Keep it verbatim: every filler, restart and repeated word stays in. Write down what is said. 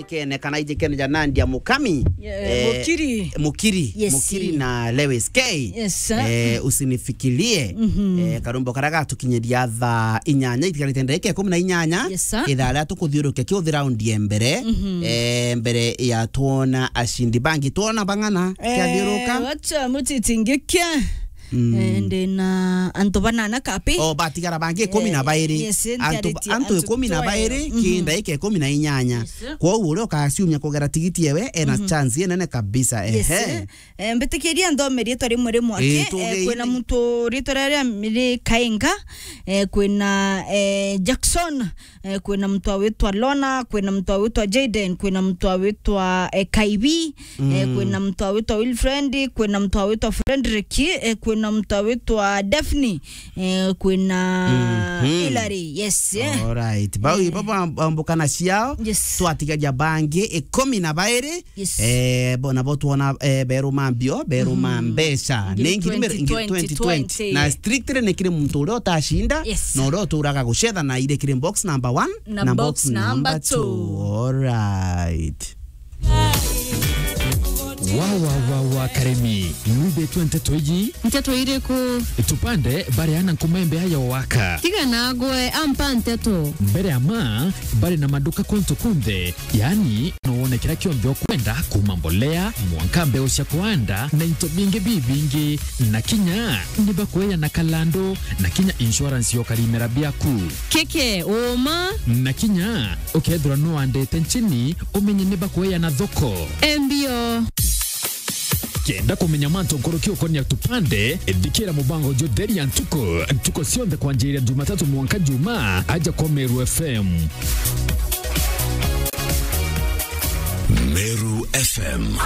Kene kana ijikene ja Nadia Mukami. Yeah, eh, Mukiri. Mukiri. Yes. Mukiri na Lewis K. Yes, sir. Eh, usinifikirie. Mhm. Eh, karumbo karia gatukinyiria thaa inyanya, itigarite ndagika ikumi na inyanya. Yes, sir. Ithaa ria tukuthiurukia kiuthi raundi ya mbere. Mhm. Eh, mbere ya twona ashindi bangi. Twona bang'ana, eh, kiathiuruka? Wacha mutitingikia. Mm. Eh, ndi na antu banana kapi. O, batigara bangi ikumi na bairi. Eh, yes, antu, ntiaritie antu antu ikumi na bairi, twayo. Mhm. Ki ndagika ikumi na inyanya. Yes, sir. Kwoguo uria ukaciumia kugera tigiti ewe, ena, mhm, chance inene kabisa. Yes, ehe, sir. Eh, mbitikiria nthome riitwa rimwe rimwe aki. Eh, eh, tugeire. Kwina muntu riitwa riria ri Kainga, eh, kwina, eh, Jackson, eh, kwina mtu awitwa Lona, kwina mtu awitwa Jayden, kwina mtu awitwa, eh, Kaibi, eh, mm, kwina mtu awitwa Wilfriend, kwina mtu awitwa Frederick, eh, kwina mtu awitwa Daphne, eh, kwina, mhm, Hilary. Yes, eh. Alright. Bau, eh, ibo bam-, bambukana ciao. Yes. Twatigaria bangi ikumi na bairi. Yes. Eh, bo, nabo twona, eh, beruma mbio, beruma, mhm, mbeca. Ngiri ni ngiri mber-, ngiri twenty twenty. Twenty twenty. Na strictly ni kiri muntu uria utacinda, yes, na uria uturaga gucetha na iri kiri box number one na, na box, box number, number two, two. Alright. Wa, wa, wa, wa, Karemi, nwithitwe nteto iji? Nteto iriku? Tupande, bareana nkuma imbeya ya waka. Tiga nagwe, ampa nteto. Mbere ya ma, bari na maduka kuntu kunthe, yani, no wone kiria kionthe ukwenda, kuma mbolea, mwanka mbeu cia kuanda, na into bingi bibingi. Na kinya, ni bakueana kalandu, na kinya insurance ya ukarimera biaku. Keke, uma? Na kinya, ukethirwa nuandite nchini, umenye ni bakueana thoko. Embio. Kenda kumenya mantu nkuruki ukonia Tupande, thikira mubango jutheri ya ntuku, ntuku cionthe kwanjiria Jumatatu mwanka Juma, aja kwa Meru F M. Meru F M.